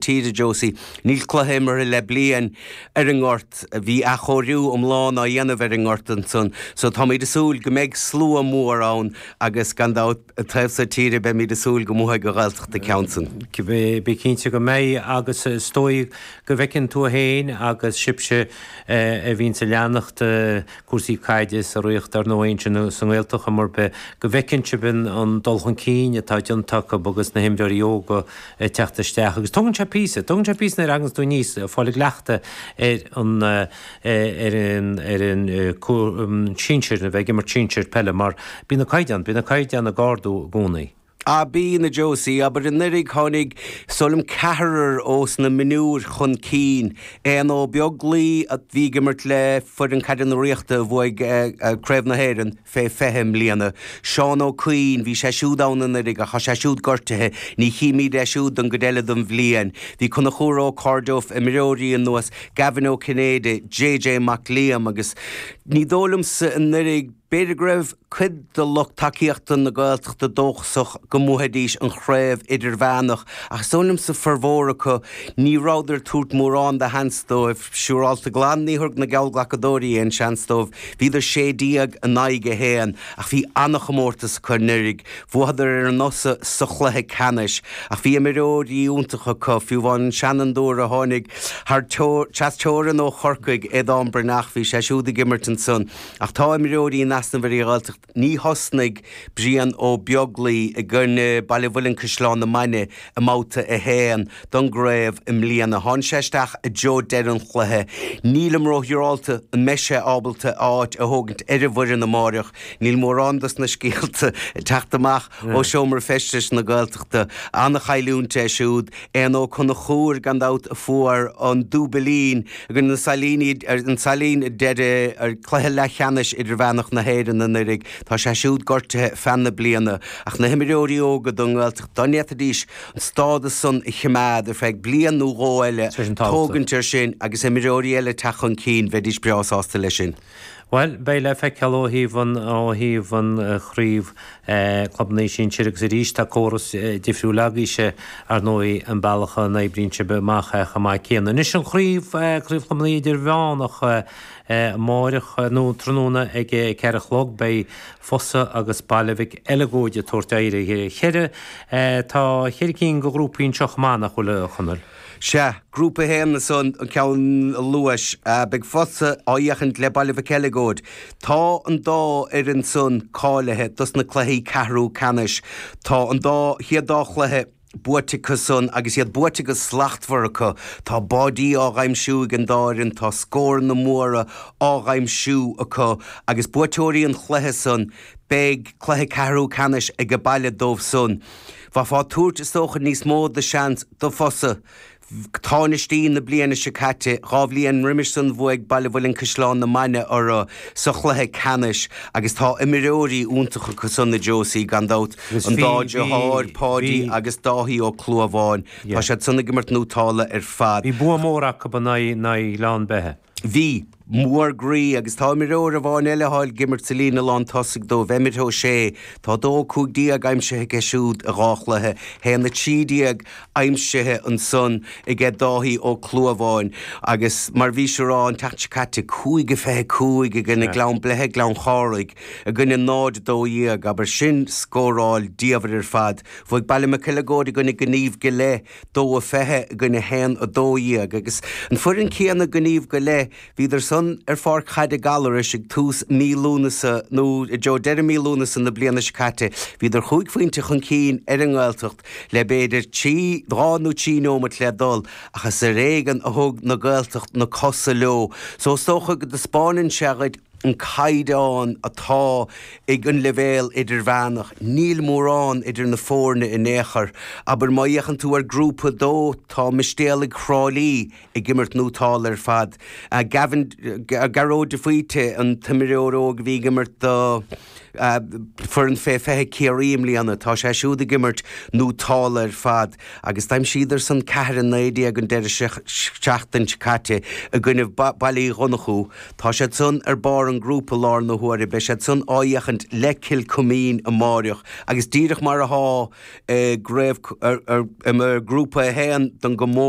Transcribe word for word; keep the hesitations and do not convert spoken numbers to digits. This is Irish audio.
tíre Josie, níl cluiche imeartha le bliain ar an ngort, bhí athchóiriú iomlán á dhéanamh ar an ngort ansan, so táimid ag súil go mbeidh slua mór ann agus gan dabht an taobh so tíre beimid ag súil go mbuafaidh an Ghaeltacht an ceann san. Bí cinnte go mbeidh agus is dóigh go bhfeiceann tú féin agus sibhse a bhíonns ag leanacht cúrsaí caide sa Ríocht ar ndóigh ansin sa nGaeltacht mar bith go bhfeiceann sibh an dul chun cinn atá déanta acu agus na himreoirí óga ag teacht isteach agus tógann sé píosa, tógann sé píosa nuair a thaganns tú aníos fáil i gcleachtadh ar an ar an ar an sinsir, a bheith ag imirt sinsir peile mar bíonn na caighdeáin, bíonn na caighdeáin ag ardú i gcónaí. Ah bíonn, a Josie, abair anuraidh tháinig is dóigh liom ceathrar ós na mionúir chun cinn. Éanna Ó Beaglaoi a bhí ag imirt le foireann caide na Ríochta a bhuaigh Craobh na hÉireann fé fiche i mbliana. Seán Ó Cuinn, bhí sé siúd ann anuraidh ach tá sé siúd gortaithe, ní chímid é siúd don gcuid eile den bhliain. Bhí Conchúr Ó Cairdeof, imreoirí ar nós Gavin Ó Cinnéide, JJ Mac Liam agus ní dóigh liomsa anuraidh, B'fhéidir go raibh cuid de lucht tacaíochta na Gaeltachta dóchasach go mbuafaidís an chraobh idirmheánach ach is dóigh liomsa formhór acu ní rabhadar ag tabhairt mórán de sheans dóibh. Siúrálta glan ní thabharfadh na geallghlacadóirí aon seans dóibh. Bhíodar sé déag in aghaidh a haon ach bhí an-chomórtas acu anuraidh. Bhuadar ar an Fhosadh sa chluiche ceannais ach bhí imreoirí iontacha acu, fiú amháin an seanfhondúir a tháinig thar trasteorann ó Chorcaigh, Aodán Breathnach, bhí sé siúd ag imirt ansan. Ach tá imreoirí in easnamh ar an Ghaeltacht. Ní thosnaigh Brian Ó Beaglaoi i gcoinne Baile Mhuilinn Caisleán na Mainge i mbabhta a haon don gcraobh i mbliana. Tháinig sé isteach i dtreo deireadh an chluiche. Nílim róshiúrálta an mbeidh sé ábalta a áit a thógaint ar an bhfoireann amáireach. Níl mórán dos na scéalta ag teacht amach ó seomra feistis na Gaeltachta. An-chailliúint é siúd. Éanna Ó Conchúir, gan dabht, a fuair an dúbailín i gcoinne na Sailíní, an Sailín i deireadh cluiche leathcheannais idirmheánach na hÉireann anuraidh. Tá sé siúd gortaithe feadh na bliana. Ach na himreoirí óga don nGaeltacht, dá ndéanfaidís an stádas san a chimeád ar feadh bliain nó dhó eile, tógaint air sin agus imreoirí eile teacht chun cinn, bheidís breá sásta leis sin. Bhuel, beidh le feiceáil ó thaobh an, ó thaobh an chraobh clubanna sinsir agus arís tá córas difriúil agaibhse ar ndóigh an bealach a n-oibríonn sibh amach é chomh maith céanna. Anois an chraobh, craobh chlubanna idirmheánach amáireach nó tráthnóna ag a ceathair a chlog beidh Fosadh agus Baile Mhic Eileagóid ag tabhairt aghaidh ar a cheithre. Tá cheithre cinn de ghrúpaí anseo chomh maith nach bhfuil a Chonaill? Sea, Grúpa a haon ansan, an ceann a luais. Beidh Fosadh á fhéachaint le Baile Mhic Eileagóid. Tá an dá fhoireann san cáilithe dos na cluichí ceathrú ceannais. Tá an dá chéad dá chluiche buaite acu san agus iad buaite go slachtmhar acu. Tá báidí á dh'aimsiú ag an dá fhoireann, tá scóranna móra á dh'aimsiú acu agus buaiteoirí an chluiche san, beidh cluiche ceathrú ceannais age baile dóibh san. Bheifeá ag tabhairt, is dócha, níos mó de sheans do Fosadh. Tánaistí na bliana seo caite, dhá bhliain roimis san bhuaigh Baile Mhuilinn Caisleán na Mainge orthu sa chluiche ceannais agus tá imreoirí iontacha acu san, a Josie, gan dabht, an dá dheartháir, Páidí agus Dáithí Ó Clúmháin. Tá siad san ag imirt nótála ar fad. Bhí bua mór acu in aghaidh Ghleann Beithe. Bhí. Mór groí agus tá imreoir amháin eile atá ag imirt sa líne lán tosaigh dóibh, Emmet Ó Sé. Tá dó a cúig déag aimsithe aige siúd i dhá chluiche, haon a trí déag aimsithe ansan aige Dáithí Ó Clúmháin agus mar bhís a rá an tseachtain seo caite, cúig a fiche cúig i gcoinne Gleann Bleithe, Gleann Chárthaigh i gcoinne náid a dó dhéag, abair sin scóráil diamhair ar fad. Bhuaigh Baile Mhic Eileagóid i gcoinne Gníomh go Leith, dó a fiche i gcoinne haon a dó dhéag agus an foireann céanna Gníomh go Leith, bhíodar san ar pháirc chaide Gallarais ag tús mí Lúnasa nó i dtreo deireadh mí Lúnasa na bliana seo caite. Bhíodar chúig phointe chun cinn ar an nGaeltacht le b'fhéidir trí, dhá nó trí neomat le dul ach is ar éigean a thug na Gaeltacht na cosa leo. So is dócha go dtaispeánann sé dhuit an caighdeán atá ag an leibhéal idirmheánach. Níl mórán idir na foirne in aon chor. Abair, má fhéachann tú ar Grúpa a dó, tá Mistéalaigh Thrá Lí ag imirt nótála ar fad. Gavin, Gearóid de Faoite, an t-imreoir óg a bhí ag imirt do foireann fé fiche Ciarraí i mbliana, tá sé siúd ag imirt nótálta ar fad agus d'aimsíodar san ceathair a naoi déag an deireadh seachtain seo caite i gcoinnibh Baile Uí Dhonnchú. Tá siad san ar barr an ghrúpa i láthair na huaire, beidh siad san á fhéachaint le Cill Chuimín amáireach agus díreach mar athá i gcraobh i ngrúpa a haon don gcomórtas.